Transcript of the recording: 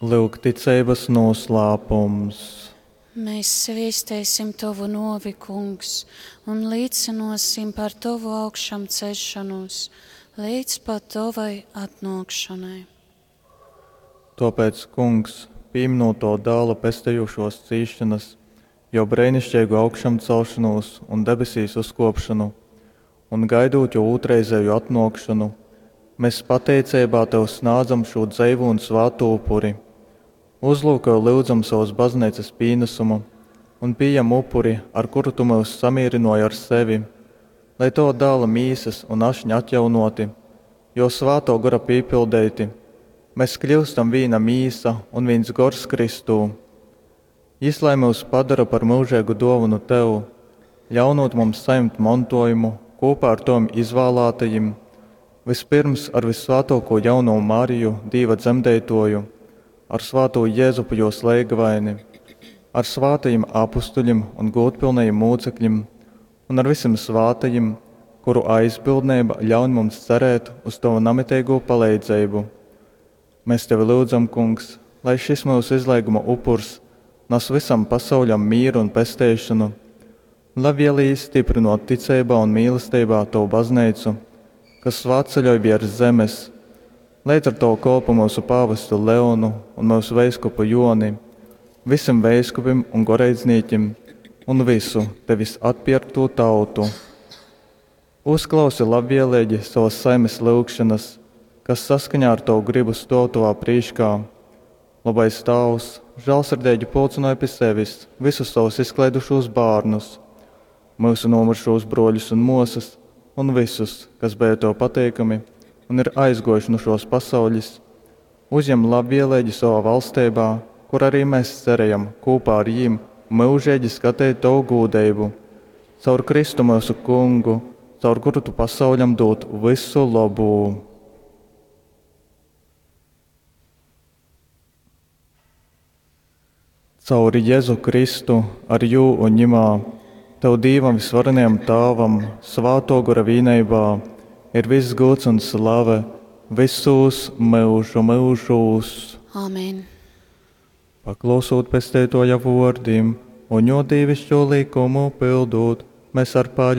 Lyuk ticeibas nūslāpums. Mēs sviesteisim Tovu nōvi, Kungs, un līcynōsim par Tovu augšamceļšonūs leidz pat Tovai atnōkšonai. Tōpēc, Kungs, pīminūt Tova Dāla pestejūšōs cīsšonas, Jō breiniškeigu augšamcelšonūs un debesīs uzkōpšonu, un gaidūt Jō ūtrreizēju atnōkšonu, mēs pateiceibā Tev snādzam šū dzeivū un svātū upuri. Uzlūkoj, lyudzam, sovas Bazneicas pīnasumu un pījem upuri, ar kuru Tu myus samīrynōji ar sevi, lai Tova Dāla mīsas un ašņa atjaunōti, Jō Svātō Gora pīpildeiti, mēs kļyustam vīna mīsa un vīns gors Kristū. Jys lai myus padara par myužeigu dōvonu Tev, ļaunūt mums sajimt montōjumu kūpā ar Tovim izvālātajim, vyspyrms ar vyssvātōkū jaunovu Mariju, Dīva dzemdeitōju, ar svātū Jezupu jōs leigavaini, ar svātajim apustuļim un gūdpilnajim mūcekļim un ar vysim svātajim, kuru aizbildneiba ļaun mums cerēt uz Tovu namiteigū paleidzeibu. Mēs Tevi lyudzam, Kungs, lai šis myusu izleiguma upurs nas vysam pasauļam mīru un pesteišonu. Labvēlīgi stiprinot ticeibā un mīlesteibā Tovu bazneicu, kas svātceļoj viers zemes, leidz ar Tovu kolpu myusu pāvestu Leonu un myusu veiskupu Joni, vysim veiskupim un goreidznīkim un vysu Tevis atpierktū tautu. Uzklausi labvēlīgi savas saimes lyugšanas, kas saskaņā ar Tovu gribu stōv Tovā prīškā. Lobais Tāvs, žālsirdeigi pulcynoj pi sevis vysus savus izkleidušūs bārnus, myusu nomyršūs brōļus un mōsas un vysus, kas beja Tev pateikami un ir aizgōjuši nu šōs pasaules. Uzjem labvēlīgi savā valsteibā, kur arī mēs cerējam kūpā ar jīm myužīgi skateit Tovu gūdeibu. Caur Kristu myusu Kungu, caur kuru Tu pasauļam dūd vysu lobū. Caur Jezu Kristu, ar Jū un Ņimā, Tev Dīvam Vysvarenajam Tāvam, Svātō Gora vīneibā, ir viss gods un slave visūs myužu myužūs. Amen. Paklausūt Pesteitōja vōrdim un Jō dīvišķo likumu pildūt, mēs ar paļ.